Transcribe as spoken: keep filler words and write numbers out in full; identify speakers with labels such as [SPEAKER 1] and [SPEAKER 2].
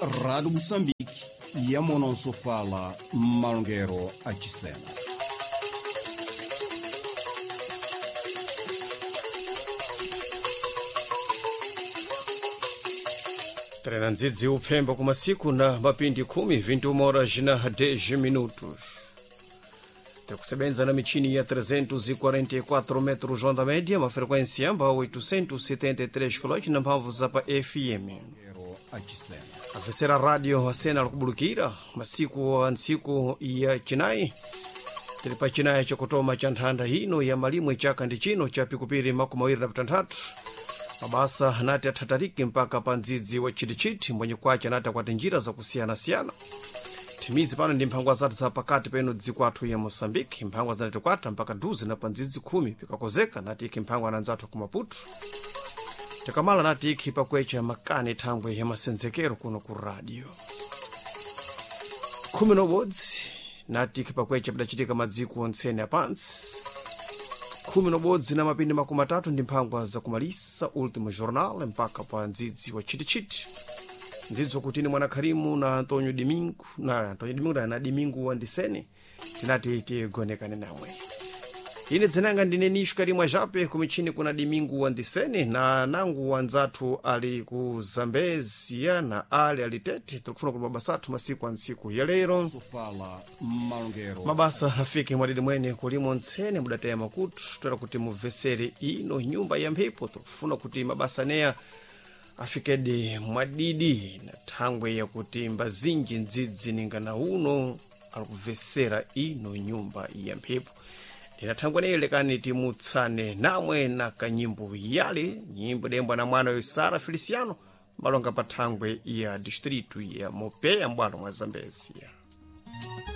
[SPEAKER 1] Rádio Moçambique, Yamonosofala, Malongero, Achisena.
[SPEAKER 2] Trena ndzidzi upfemba kumasiku na mapindi khumi vinte e uma horas na dez minutos. Tikusebenza na michini ya trezentos e quarenta e quatro metros onda média, uma frequência amba oitocentos e setenta e três kHz na mphamvu za pa F M. A terceira rádio a cena kubulukira masiku a ntsiku ya chinayi tili pa chinayi chakutoma cha nthanda ino ya malimwe chaka ndi chino cha pikupiri makumi awiri na pitanthatu. Mabasa anati athatariki mpaka pa ndzidzi wa chitichiti mbwenye kwace anati akwati njira zakusiyanasiyana. Thimizi pano ndi mphangwa zathu za pakati peno dziko athu ya Moçambique, mphangwa zinati kwata mpaka duze na pa ndzidzi khumi pikakozeka nati ikhi mphangwa na nzathu ku Maputo. Tikamala nati ikhi pakwecha makani thangwe ya masenzekero kuno ku radio. Khumi nobodzi nati ikhi pakwecha pidachitika madziko ontsene apantsi. Khumi nobodzi na mapindi makumi atatu ndi mphangwa zakumalisa Ultimo Jornal mpaka pa ndzidzi wa chitichiti. Ndzidzi wakutini mwana Kharimu na Antonio Domingo na Antonio Domingo na Domingo Wandisene tinati tigonekane namwe. Ine dzinanga ndine Nisho Karimwa Jape kumichini kuna Domingo Wandisene na nangu wanzathu ali ku Zambezia na ali alitete tikufuna kuti mabasa athu masiku a ntsiku ya lero.
[SPEAKER 1] Sofala, Malongero.
[SPEAKER 2] Mabasa afike mwadidi mwene kulimo ntsene mudateya makutu toera kuti mubvesere ino nyumba ya mphepo tikufuna kuti mabasa neya afikede mwadidi na thangwe yakuti mbazinji ndzidzi ninga na uno alikubvesera ino nyumba ya mphepo. Ndina thangwe neyo lekani timutsane namwe na kanyimbo yale nyimbo dembwa na mwana Sara Feliciano malonga pa thangwe ya distritu ya Mopeya mbwalo mwa Zambezia.